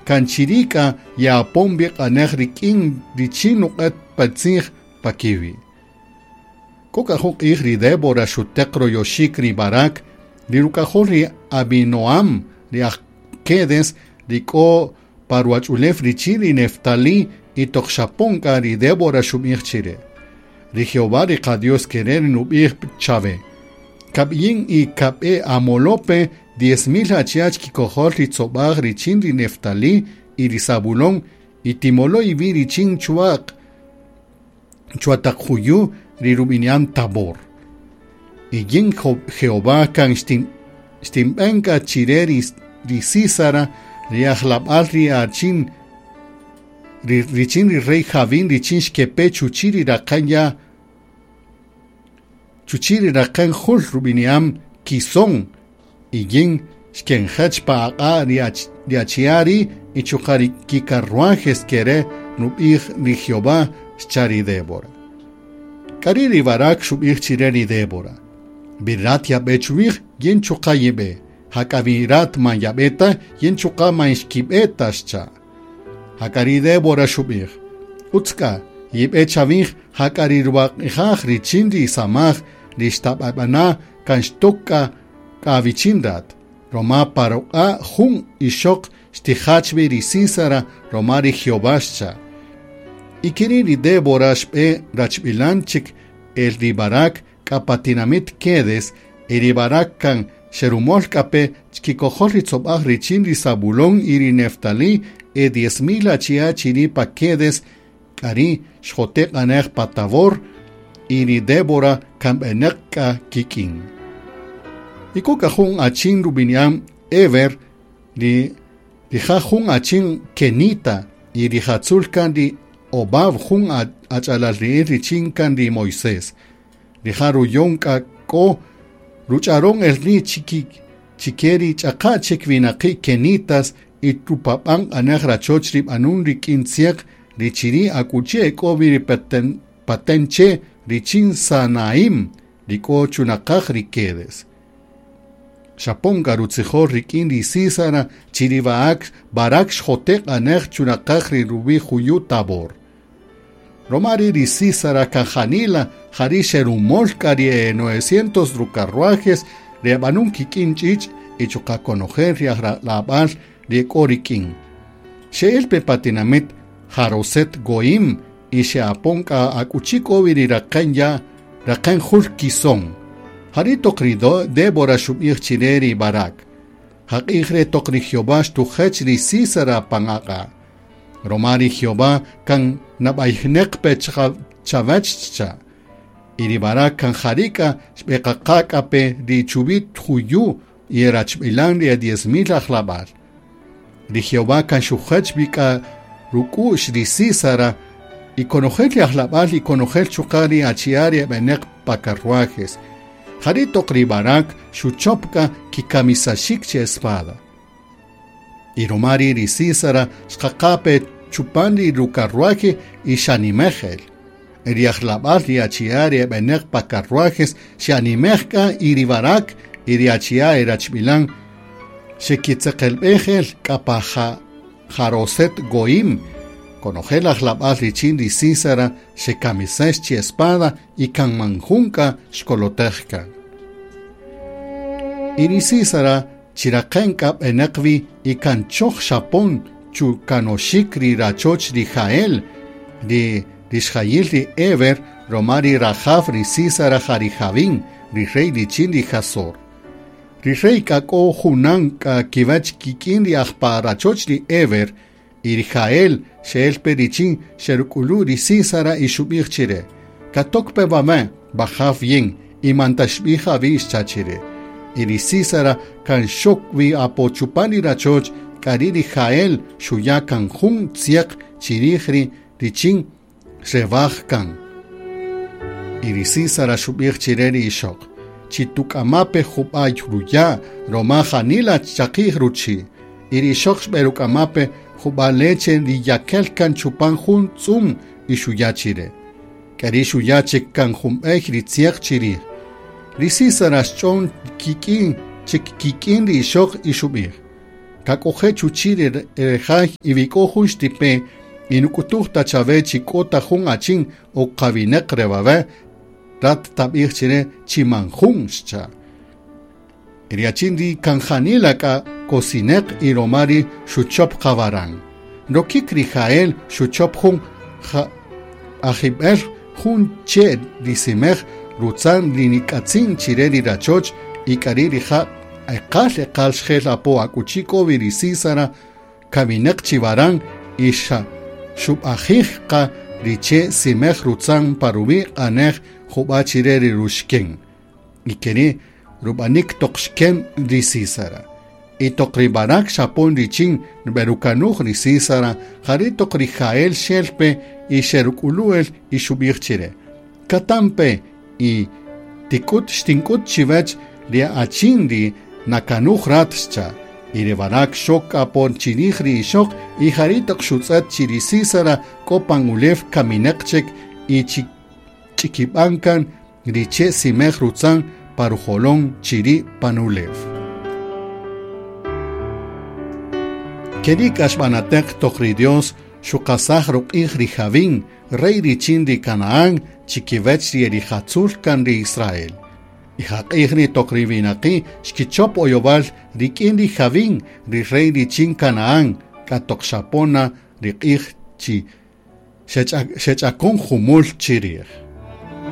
Kan chiri' k'a ye'apon wi q'anej rik'in richin nuq'et pe tzij pa kiwi'. K'o k'a jun q'ij ri Débora xuteq royoxik ri Barac, ri ruk'ajol ri Abinoam, ri aj Quedes, ri k'o pa ruwach'ulew richin ri Neftalí, y toq xapon k'a ri Débora xub'ij chire: Ri Jehová ri qa-Dios kere' ri nub'ij chawe: Kab'yin y kab'e amolope 10,000 achi'a' chkikojol ri tzob'aj richin ri Neftalí y ri Zabulón, y timolo' iwi' richin chwa'q chwa taq juyu' ri rub'ini'an Tabor. Y yin Jehová kan xtinb'en k'a chire ri Sísara, ri ajlab'al ri achin richin ri rey Jabín richin xkepe chuchi' ri raqän ya' chuchi' ri raqän jul rub'ini'an Quisón, y yin xkenjäch pa aq'a' ri achi'a' ri' y chuqa' ri kikarruajes kere' nub'ij ri Jehová, xcha' ri Débora. K'ari' ri Barac xub'ij chire ri Débora: Wi rat yab'e chwij, yin chuqa' yib'e. Jak'a wi rat man yab'e ta, yin chuqa' man xkib'e ta, xcha'. Jak'a ri Débora xub'ij: Utz k'a, yib'e chawij, jak'a ri ruwaq'ijaj richin ri samaj ri xtab'ab'ana' kan xtok k'a k'a awichin rat, roma pa ruq'a' jun ixöq xtijach wi ri Sísara roma ri Jehová, xcha'. Y keri' ri Débora xb'e rachb'ilan chik el ri Barac k'a pa tinamit Quedes, y ri Barac kan xerumol k'a pe chkikojol ri tzob'aj richin ri Zabulón y ri Neftalí e 10,000 achi'a' chiri' pa Quedes, k'ari' xjote' q'anej pa Tabor, y ri Débora kan b'enäq k'a kik'in. Y k'o k'a jun achin rub'ini'an Heber, ri rija' jun achin kenita, y rijatzul kan ri Hobab jun ach'alalri'il richin kan ri Moisés. Rija' ruyon k'a k'o ruch'aron el ri' chike ri ch'aqa' chik winaqi' kenitas y rupab'an q'anej rachoch ri b'anun rik'in tzyäq ri chiri' akuchi e k'o wi ri patenche richin Sanaim ri k'o chunaqaj ri Quedes. Xapon k'a rutzijol rik'in ri Sísara chi ri Barac xjote' q'anej chunaqaj ri ruwi' juyu' Tabor. Roma ri' ri Sísara kan janila jari' xerumol k'a ri e 900 rucarruajes ri eb'anun kik'in ch'ich' y chuqa' konojel ri ajlab'al ri e k'o rik'in. Xe'el pe pa tinamit Haroset Goim y xe'apon k'a akuchi k'o wi ri raqän ya' raqän jul Quisón. Jari' toq ri Débora xub'ij chire ri Barac: Jaq'ij re' toq ri Jehová xtujech ri Sísara pan aq'a'. Roma ri Jehová kan nab'ayjneq pe chawäch xcha'. Y ri Barac kan jari' k'a xb'eqaqa k'a pe ri chuwi' juyu' y e rachb'ilan ri e 10,000 ajlab'al. Ri Jehová kan xujech wi k'a ruk'u'x ri Sísara y konojel ri ajlab'al y konojel chuqa' ri achi'a' ri eb'enäq pa carruajes. Jari' toq ri Barac xuchop k'a kikamisaxik chi espada. Y roma ri' ri Sísara xqaqa pe chupan ri rucarruaje y xanimej el. Ri ajlab'al ri achi'a' ri eb'enäq pa carruajes xe'animej k'a y ri Barac y ri achi'a' e rachb'ilan xekitzeqelb'ej el k'a pa Haroset Goim. Konojel ajlab'al richin ri Sísara xekamisex chi espada y kan man jun k'a xkolotej kan. Y ri Sísara chiraqen k'a b'enäq wi y kan choj xapon chukanoxik ri rachoch ri Jael, ri rixjayil ri Heber, roma ri rajaw ri Sísara ja ri Jabín, ri rey richin ri Hazor. Ri rey k'a k'o junan k'a kiwäch kik'in ri aj pa rachoch ri Heber, y ri Jael xe'el pe richin xeruk'ulu' ri Sísara y xub'ij chire: Katok pe wame', wajaw yin, y man taxib'ij awi' xcha' chire. Y ri Sísara kan xok wi apo chupan ri rachoch, k'ari' ri Jael xuya' kan jun tzyäq chirij ri richin xrewaj kan. Y ri Sísara xub'ij chire ri ixöq: Chi tuk'ama' pe jub'a' ruya' roma janila chaqi'j ruchi'. Y ri ixöq xb'eruk'ama' pe jub'a' leche ri yakel kan chupan jun tz'um y xuya' chire. K'ari' xuya' chik kan jun b'ey ri tzyäq chirij. Ri Sísara xch'on kik'in chik kik'in ri ixöq y xub'ij: Kak'oje' chuchi' ri jay y wi k'o jun xtipe y nuk'utuj ta chawe chi k'o ta jun achin o qawinaq re wawe', rat tab'ij chire chi man jun, xcha'. Y ri achin ri' kan janila k'a kosineq y roma ri' xuchop qawaran. Rokik ri Jael xuchop jun ajib'el jun che' ri simej rutzan ri nik'atzin chire ri rachoch y k'ari' rija' eqal eqal xjel apo akuchi k'o wi ri Sísara kaminaq chi waran y xa xub'ajij qa ri che' simej rutzan pa ruwi' q'anej jub'a' chire ri ruxken. Y keri' rub'anik toq xken ri Sísara. Y toq ri Barac xapon richin nb'erukanuj ri Sísara, jari' toq ri Jael xel pe y xeruk'ulu' el y xub'ij chire: Katampe y tik'ut xtink'ut chiwech ri achin ri nakanuj rat, xcha'. Y ri Barac xok apon chirij ri ixoq y jari' toq xutz'et chi ri Sísara k'o pan ulew kaminaq chik y ch'ikib'an kan ri che' simej rutzan pa rujolon chiri' pan ulew. Keri' k'a xb'anateq toq ri Dios xuqasaj ruq'ij ri Jabín, rey richin ri Canaán, chikiwech ri erijatzul kan ri Israel. Y jaq'ij ri toq ri winaqi' xkichop oyowal rik'in ri Jabín, ri rey richin Canaán, k'a toq xapona ri q'ij chi xech'akon jumul chirij.